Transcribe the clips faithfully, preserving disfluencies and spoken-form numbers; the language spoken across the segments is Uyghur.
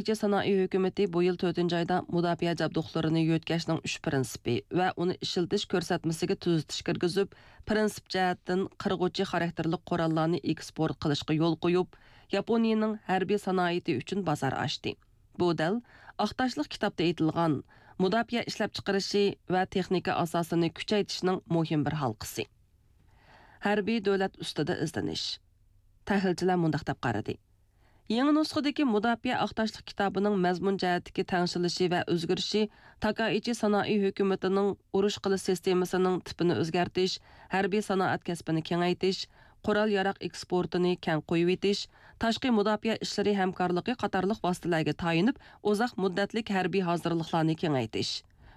تاكائىچى سانائى ھۆكۈمىتى بۇ يىل تۆتىنچى ئايدا مۇداپىئە جابدۇقلىرىنى يۆتكەشنىڭ ئۈچ پىرىنسىپى ۋە ئۇنى ئىشلىتىش كۆرسەتمىسىگە تۈزىتىش كىرگۈزۈپ، پىرىنسىپ جەھەتتىن قىرغۇچى خاراكتېرلىك قوراللارنى ئېكسپورت قىلىشقا يول قويۇپ، ياپونىيىنىڭ ھەربىي سانائىتى ئۈچۈن بازار ئاچتى. بۇ دەل ئاق تاشلىق كىتابتا ئېيتىلغان مۇداپىئە ئىشلەپچىقىرىشى ۋە تېخنىكا ئاساسىنى كۈچەيتىشنىڭ مۇھىم بىر ھالقىسى. ھەربىي دۆلەت ئۈستىدە ئىزدىنىش. تەھلىلچىلەر مۇنداق دەپ قارىدى. يېڭى نۇسخىدىكى مۇداپىئە ئاق تاشلىق كىتابىنىڭ مەزمۇن جەھەتتىكى تەڭشىلىشى ۋە ئۆزگىرىشى تاكائىچى سانائى ھۆكۈمىتىنىڭ ئۇرۇش قىلىش سىستېمىسىنىڭ تىپىنى ئۆزگەرتىش، ھەربىي سانائەت كەسپىنى كېڭەيتىش، قورال-ياراغ ئېكسپورتىنى كەڭ قويۇۋېتىش، تاشقى مۇداپىئە ئىشلىرى ھەمكارلىقى قاتارلىق ۋاسىتىلەرگە تايىنىپ، ئۇزاق مۇددەتلىك ھەربىي ھازىرلىقلارنى كېڭەيتىش،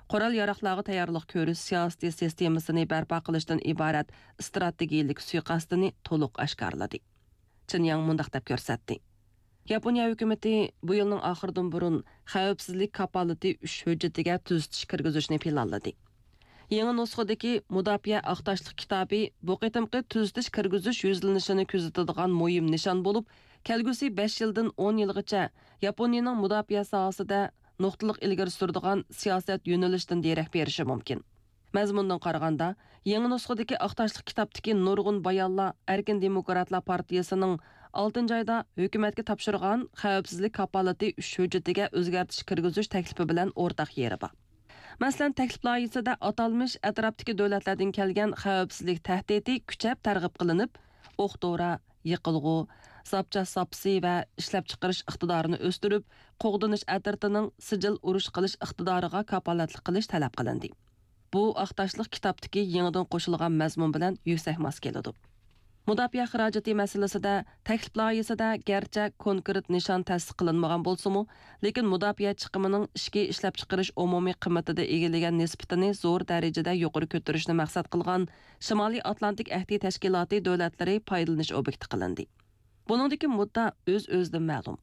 قورال-ياراغلارغا تەييارلىق كۆرۈش سىياسىتى سىستېمىسىنى بەرپا قىلىشتىن ئىبارەت ئىستراتېگىيىلىك سۇيىقەستىنى تولۇق ئاشكارىلىدى. چېن ياڭ مۇنداق دەپ كۆرسەتتى. ياپونىيە ھۆكۈمىتى بۇ يىلنىڭ ئاخىرىدىن بۇرۇن خەۋپسىزلىك كاپالىتى ئۈچ ھۆججىتىگە تۈزىتىش كىرگۈزۈشنى پىلانلىدى. يېڭى نۇسخىدىكى مۇداپىئە ئاق تاشلىق كىتابى بۇ قېتىمقى تۈزىتىش كىرگۈزۈش يۈزلىنىشىنى كۆزىتىدىغان مۇھىم نىشان بولۇپ، كەلگۈسى بەش يىلدىن ئون يىلغىچە ياپونىيىنىڭ مۇداپىئە ساھەسىدە نۇقتىلىق ئىلگىرى سۈرىدىغان سىياسەت يۆنىلىشىدىن دېرەك بېرىشى مۇمكىن. مەزمۇندىن قارىغاندا، يېڭى نۇسخىدىكى ئاق تاشلىق كىتابتىكى نۇرغۇن بايانلار ئەركىن دېموكراتلار پارتىيىسىنىڭ ئالتىنچى ئايدا ھۆكۈمەتكە تاپشۇرغان خەۋپسىزلىك كاپالىتى ئۈچ ھۆججىتىگە ئۆزگەرتىش كىرگۈزۈش تەكلىپى بىلەن ئورتاق يېرى بار. مەسىلەن، تەكلىپ لايىھىسىدە ئاتالمىش ئەتراپتىكى دۆلەتلەردىن كەلگەن خەۋپسىزلىك تەھدىتى كۈچەپ تەرغىب قىلىنىپ، ئوق-دورا، يېقىلغۇ، زاپچاس زاپىسى ۋە ئىشلەپچىقىرىش ئىقتىدارىنى ئۆستۈرۈپ، قوغدىنىش ئەترىتىنىڭ سىجىل ئۇرۇش قىلىش ئىقتىدارىغا كاپالەتلىك قىلىش تەلەپ قىلىندى. بۇ ئاق تاشلىق كىتابتىكى يېڭىدىن قوشۇلغان مەزمۇن بىلەن يۈكسەك ماس كېلىدۇ. مۇداپىئە خىراجىتى مەسىلىسىدە تەكلىپ لايىھىسىدە گەرچە كونكرېت نىشان تەستىقلانمىغان بولسىمۇ، لېكىن مۇداپىئە چىقىمىنىڭ ئىچكى ئىشلەپچىقىرىش ئومۇمىي قىممىتىدە ئىگىلىگەن نىسبىتىنى زور دەرىجىدە يۇقىرى كۆتۈرۈشنى مەقسەت قىلغان شىمالىي ئاتلانتىك ئەھدى تەشكىلاتى دۆلەتلىرى پايدىلىنىش ئوبيېكتى قىلىندى. بۇنىڭدىكى مۇددا ئۆز-ئۆزىدىن مەلۇم.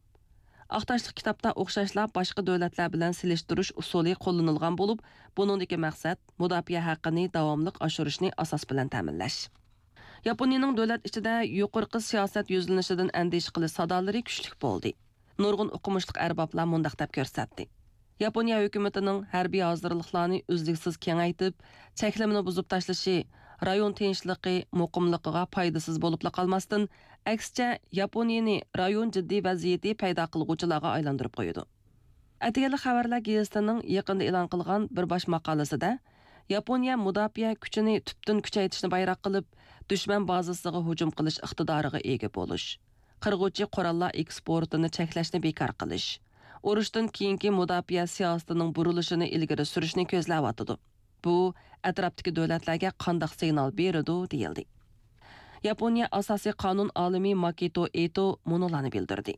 ئاق تاشلىق كىتابتا ئوخشاشلا باشقا دۆلەتلەر بىلەن سېلىشتۇرۇش ئۇسۇلى قوللىنىلغان بولۇپ، بۇنىڭدىكى مەقسەت مۇداپىئە ھەققىنى داۋاملىق ئاشۇرۇشنى ئاساس بىلەن تەمىنلەش. ياپونىيەنىڭ دۆلەت ئىچىدە يۇقىرىقى سىياسەت يۈزلىنىشىدىن ئەندىشە قىلىش سادالىرى كۈچلۈك بولدى. نۇرغۇن ئوقۇمۇشلۇق ئەربابلار مۇنداق دەپ كۆرسەتتى. ياپونىيە ھۆكۈمىتىنىڭ ھەربىي ھازىرلىقلارنى ئۈزلۈكسىز كېڭەيتىپ، چەكلىمىنى بۇزۇپ تاشلىشى رايون تىنچلىقى، مۇقىملىقىغا پايدىسىز بولۇپلا قالماستىن، ئەكسىچە، ياپونىيەنى رايون جىددىي ۋەزىيىتى پەيدا قىلغۇچىلارغا ئايلاندۇرۇپ قويىدۇ. ئەتىگەنلىك خەۋەرلەر گېزىتىنىڭ يېقىندا ئېلان قىلغان بىر باش ماقالىسىدە، ياپونىيە مۇداپىئە كۈچىنى تۈپتىن كۈچەيتىشنى بايراق قىلىپ، دۈشمەن بازىسىغا ھۇجۇم قىلىش ئىقتىدارىغا ئىگە بولۇش، قىرغۇچى قوراللار ئېكسپورتىنى چەكلەشنى بىكار قىلىش، ئۇرۇشتىن كېيىنكى مۇداپىئە سىياسىتىنىڭ بۇرۇلۇشىنى ئىلگىرى سۈرۈشنى كۆزلەۋاتىدۇ. بۇ ئەتراپتىكى دۆلەتلەرگە قانداق سىگنال بېرىدۇ؟ دېيىلدى. ياپونىيە ئاساسىي قانۇن ئالىمى ماكىتو ئېتو مۇنۇلارنى بىلدۈردى.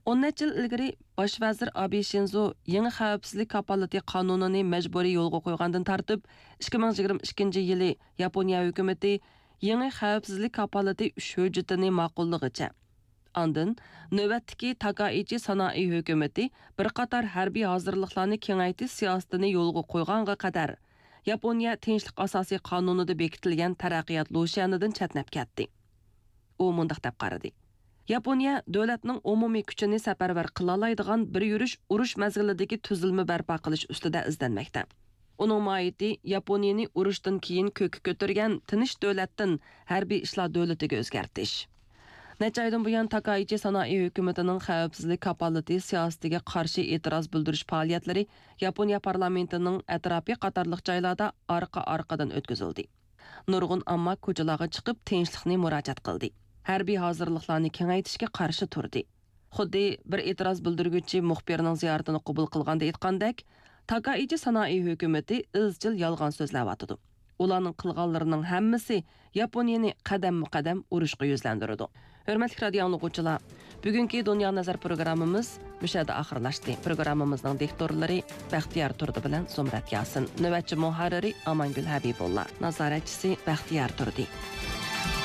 ئون نەچچە يىل ئىلگىرى باش ۋەزىر ئابې شىنزو يېڭى خەۋپسىزلىك كاپالىتى قانۇنىنى مەجبۇرىي يولغا قويغاندىن تارتىپ، ئىككى مىڭ يىگىرمە ئىككىنچى يىلى ياپونىيە ھۆكۈمىتى يېڭى خەۋپسىزلىك كاپالىتى ئۈچ ھۆججىتىنى ماقۇللىغىچە، ئاندىن نۆۋەتتىكى تاكائىچى سانائى ھۆكۈمىتى بىر قاتار ھەربىي ھازىرلىقلارنى كېڭەيتىش سىياسىتىنى يولغا قويغانغا قەدەر، ياپونىيە تىنچلىق ئاساسىي قانۇنىدا بېكىتىلگەن تەرەققىيات لۇشيەنىدىن چەتنەپ كەتتى. ئۇ مۇنداق دەپ قارىدى: ياپونىيە دۆلەتنىڭ ئومۇمىي كۈچىنى سەپەرۋەر قىلالايدىغان بىر يۈرۈش ئۇرۇش مەزگىلىدىكى تۈزۈلمە بەرپا قىلىش ئۈستىدە ئىزدەنمەكتە. ئۇنىڭ ماھىيىتى ياپونىيەنى ئۇرۇشتىن كېيىن كۆككە كۆتۈرگەن تىنچ دۆلەتتىن ھەربىي ئىشلار دۆلىتىگە ئۆزگەرتىش. نەچچە ئايدىن بۇيان، تاكائىچى سانائى ھۆكۈمىتىنىڭ خەۋپسىزلىك كاپالىتى سىياسىتىگە قارشى ئېتىراز بىلدۈرۈش پائالىيەتلىرى ياپونىيە پارلامېنتىنىڭ ئەتراپى قاتارلىق جايلاردا ئارقا-ئارقىدىن ئۆتكۈزۈلدى. نۇرغۇن ئامما كوچىلارغا چىقىپ، تىنچلىقنى مۇراجىئەت قىلدى. ھەربىي ھازىرلىقلارنى كېڭەيتىشكە قارشى تۇردى. خۇددى بىر ئېتىراز بىلدۈرگۈچى مۇخبىرنىڭ زىيارىتىنى قوبۇل قىلغاندا ئېيتقاندەك، تاكائىچى سانائى ھۆكۈمىتى ئىزچىل يالغان سۆزلەۋاتىدۇ. ئۇلارنىڭ قىلغانلىرىنىڭ ھەممىسى ياپونىيەنى قەدەممۇ قەدەم ئۇرۇشقا يۈزلەندۈرىدۇ. ھۆرمەتلىك رادىئو ئاڭلىغۇچىلار، بۈگۈنكى دۇنيا نەزەر پروگراممىمىز مۇشۇ يەردە ئاخىرلاشتى. پروگراممىمىزنىڭ دىكتورلىرى بەختىيار تۇردى بىلەن زۇمرەت ياسىن، نۆۋەتچى مۇھەررىرى ئامانگۈل ھەبىبۇللا، نازارەتچىسى بەختىيار تۇردى.